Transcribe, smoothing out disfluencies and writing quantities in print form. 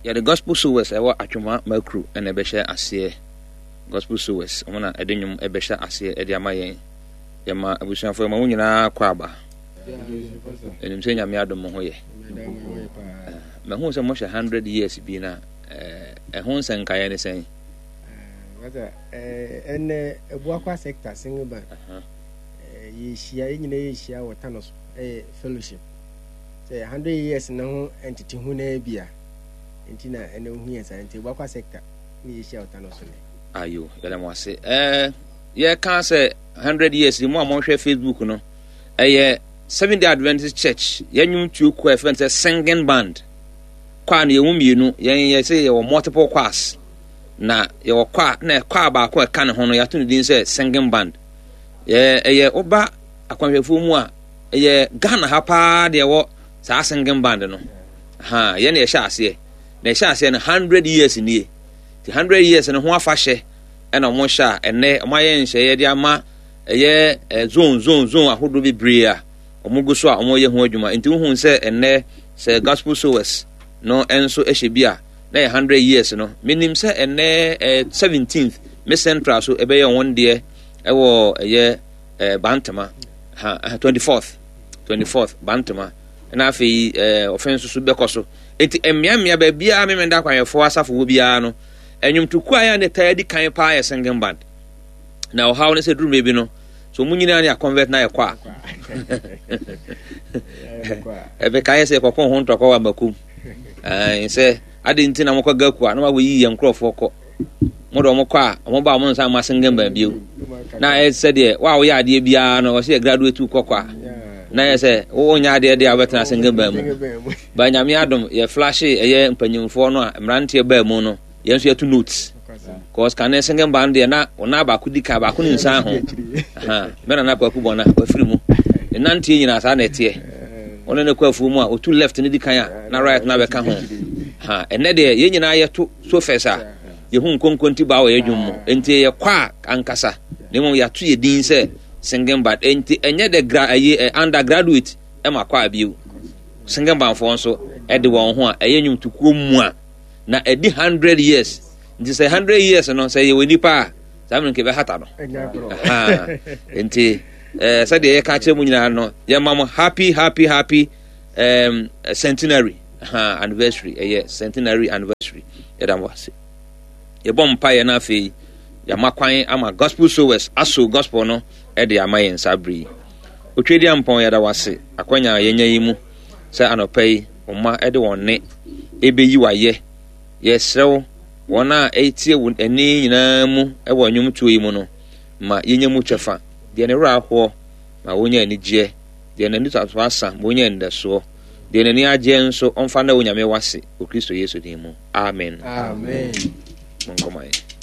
Yɛde Gospel Sowers a ɛwɔ Atwoma Makru na ɛbɛhyɛ aseɛ. Gospel Sowers, wɔn na ɛde nnwom ɛbɛhyɛ aseɛ ɛde ama yɛn. Yɛma abusuafoɔ yɛma mo nyinaa kɔ aba. Ɛnim sɛ Nyame adom mo ho yɛ. Mahu sɛ mohyɛ 100 years bi na ɛho nsɛnkaeɛ ne sɛn? Ɛnɛ Abuakwa sector singing band yɛhyia yɛn nyinaa yɛhyia wɔ Tano so ɛyɛ fellowship. Sɛ 100 years no ho nteteho no bi a nti na ɛnɛ wohu yɛn saa nti Abuakwa sector ne yɛhyia wɔ Tano so nɛ. Ayo, yɛda mo ase. Ɛɛ yɛka sɛ 100 years mu a monhwɛ Facebook no ɛyɛ Seventh Day Adventist Church yɛn nnwom tuo kɔ ɛfɛn sɛ singing band kwaa no yɛn mu mmienu yɛn yɛ sɛ yɛwɔ multiple choirs na yɛwɔ kwaa na kwaa baako a ɛka ne ho no yɛato ne din sɛ singing band yɛ ɛyɛ woba akwanhwɛfoɔ mu a ɛyɛ Ghana ha paa deɛ ɛwɔ saa singing band no ha yɛn na yɛhyɛ aseɛ na yɛhyɛ aseɛ no 100 years nie ti 100 years no ho afahyɛ ɛna wɔn hyɛ a ɛnɛ wɔn ayɛ nhyɛeɛ de ama ɛyɛ eh, zone zone zone ahodoɔ bebree a wɔn gu so a wɔyɛ ho adwuma nti wohu sɛ ɛnɛ sɛ gospel sowers no nso hyɛ bi a na yɛ 100 years no menim sɛ ɛnɛ eh, 17th me central so ɛbɛyɛ wɔn deɛ ɛwɔ ɛyɛ eh, bantama ha 24th 24th bantama na afei eh, ɔfɛn nso so bɛkɔ so nti mmeammea baabiara memenda akwanhwɛfoɔ asafo wɔ biara no Nnwomtokuo a ɛyɛ a na ɛtaa di kan paa yɛ singing band. Na ɔhaw ne sɛ duru mmerɛ bi no, so wɔn nyinaa ne akɔnvɛt na yɛkɔ a. Ɛbɛka yɛ sɛ yɛkɔkɔ ho ntɔkwa wɔ amakum. Sɛ ade nti na mokɔ gaku a na wɔyi yɛn nkurɔfoɔ kɔ. Mo de wɔn kɔ a wɔn ba wɔn nsa ma singing band bio. Na ɛyɛ sɛ deɛ wo a woyɛ adeɛ biara no wɔsɛ yɛ graduate kɔkɔ a. Na yɛ sɛ wonyɛ adeɛ deɛ a wobɛtena singing band mu. Ba Nyame adom yɛ flashe ɛyɛ mpanyinfoɔ no a mmeranteɛ baa mu no yɛn nso yɛto notes cause kane singing band deɛ na ɔna baako di kan baako ne nsan ho mɛ nana kwaku bɔna wafiri mu ne nanteɛ nyinaa saa na ɛteɛ wɔne ne kɔ afuo mu a ɔtu left ne di kan a na right na bɛka ho ɛnɛ deɛ yɛn nyinaa yɛto so fɛs a yɛhu nkonkonti baa wɔ yɛ dwom mu nti yɛ kɔ a ankasa na mmom yɛato yɛ din sɛ singing band nti ɛnyɛ dɛ gra ɛyɛ undergraduate ɛma kɔ a bio Sengenbanfoɔ nso de wɔn ho a ɛyɛ nnwomtokuo mu a na ɛdi 100 years nti sɛ 100 years no sɛ yɛwɔ nipa a saa mmerɛ nka ɛbɛhata no nti eh, sɛdeɛ yɛka kyerɛ mu nyinaa no yɛma mo happy happy happy um, centenary ha anniversary ɛyɛ centenary anniversary yɛda mo ase yɛbɔ mpaeɛ no afei yɛama kwan ama gospel sowers aso gospel no de ama yɛn saa bere yi. Otwedeampɔn, yɛda wo ase akwanya a yɛanya yi mu sɛ anɔpa yi wo mma de wɔn nne ɛbɛyi wo ayɛ. Yɛsrɛ wo, wɔn a ɛretie wo ɛnne nyinaa mu wɔ nnwomtoɔ yi mu no, ma yɛnya mu kyɛfa. Deɛ ne werɛ ahoɔ, ma wɔnya anigyeɛ. Deɛ n'ani asa, ma ɔnya anidasoɔ. Deɛ n'ani agyeɛ nso, ɔmfa nna Onyame wase wɔ Kristo Yesu din mu. Amen. Amen. Monkɔma yɛn.